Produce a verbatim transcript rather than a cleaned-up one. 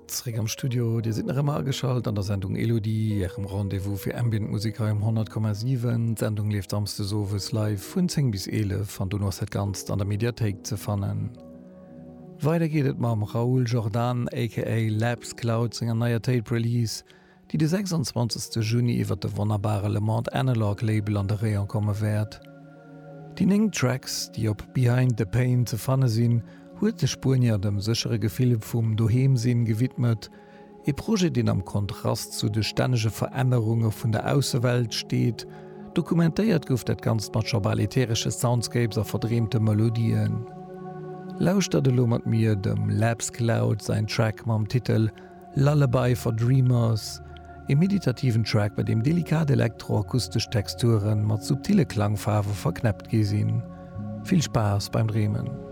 Zréck am Studio, Dir sidd nach ëmmer ageschalt an der Sendung Elodie, Ärem Rendez-vous fir Ambient Musek hei um honnert Komma siwen. D'Sendung leeft samsdes owes live vun zéng bis eelef an dono ass dat Ganzt an der Mediathéik ze fannen. Weider geet et mam Raúl Jordan aka Labs Cloud senger neier Tape Release, déi de sechsundzwanzegste Juni iwwer de wonnerbare Le Monde Analog Label an de Rayon komme wäert. Déi néng Tracks, déi op Behind the Pain ze fanne sinn, huet de Spuenier dem séchere Gefill vum Doheem-Sinn gewidmet, ee Projet, deen am Kontrast zu de stännege Verännerunge vun der Aussewelt steet. Dokumentéiert gouf dat Ganzt mat scho bal ätheresche Soundscapes a verdreemte Melodien. Lauschtert elo mat mir dem Labs Cloud säin Track mam Titel Lullaby for Dreamers, e meditativen Track, bei deem delikat elektroakustesch Texture mat subtile Klangfaarwe verknäppt gi sinn. Vill Spaass beim Dreemen!